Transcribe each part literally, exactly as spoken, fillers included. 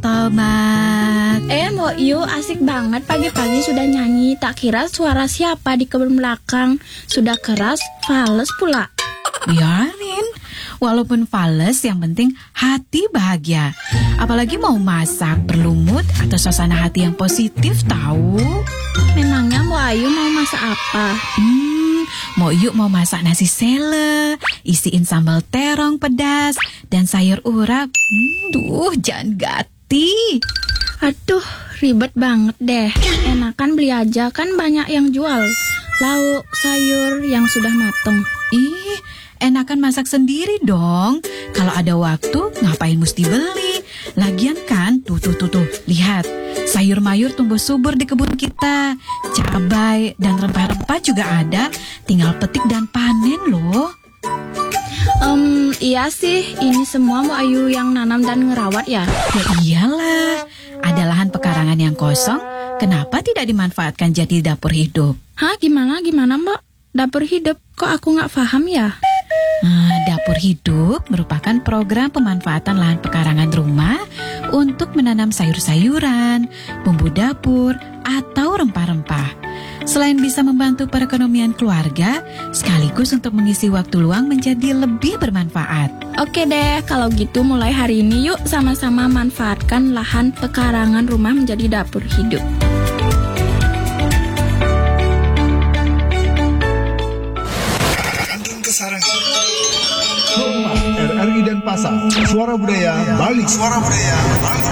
Tobat. Eh, Mbok Yu, asik banget pagi-pagi sudah nyanyi. Tak kira suara siapa di kebun belakang. Sudah keras, fales pula. Biarin. Walaupun fales, yang penting hati bahagia. Apalagi mau masak, perlu mood atau suasana hati yang positif, tahu. Memangnya Mbok Ayu mau masak apa? Hmm, Mbok Yu mau masak nasi sele, isiin sambal terong pedas, dan sayur urap. Hmm, duh, jangan gati. Aduh, ribet banget deh. Enakan beli aja, kan banyak yang jual. Lauk, sayur yang sudah mateng. Ih, enakan masak sendiri dong. Kalau ada waktu, ngapain mesti beli? Lagian kan, tuh, tuh, tuh, tuh. Lihat, sayur mayur tumbuh subur di kebun kita. Cabai dan rempah-rempah juga ada. Tinggal petik dan panen loh. Em, iya sih, ini semua Mbok Ayu yang nanam dan ngerawat ya? Ya iyalah, ada lahan pekarangan yang kosong, kenapa tidak dimanfaatkan jadi dapur hidup? Hah, gimana, gimana, Mbok? Dapur hidup, kok aku nggak paham ya? Nah, dapur hidup merupakan program pemanfaatan lahan pekarangan rumah untuk menanam sayur-sayuran, bumbu dapur, atau rempah-rempah. Selain bisa membantu perekonomian keluarga, sekaligus untuk mengisi waktu luang menjadi lebih bermanfaat. Oke deh, kalau gitu mulai hari ini yuk sama-sama manfaatkan lahan pekarangan rumah menjadi dapur hidup. R R I Denpasar, Suara Budaya Bali. Suara Budaya Bali.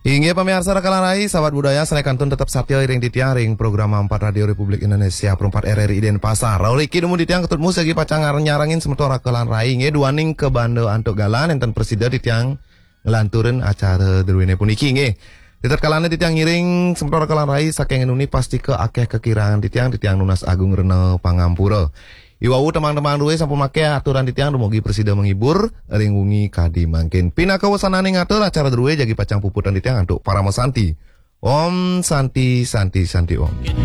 Inggih pamiarsa rakalan rai, sahabat budaya, sané kantun tetep satia iring titiang ring program empat Radio Republik Indonesia Pro empat R R I Denpasar. Rauh riki dumun titiang Ketut Mus jagi pacang ngar- nyarengin semeton rakalan rai, inggih duaning kabanda antuk galah nénten prasida titiang nglanturin acara druéné puniki, inggih. Ritatkalané titiang ngiring semeton rakalan rai saking nuni pastika akéh kakirangan titiang, titiang nunas agung rena pangampura. Iwau tembang-tembang drué sampun makéh aturan titiang, dumugi prasida menghibur ring wengi kadi mangkin. Pinaka wasananing atur acara drué jagi pacang puputang titiang antuk parama santi. Om Santi, Santi, Santi Om.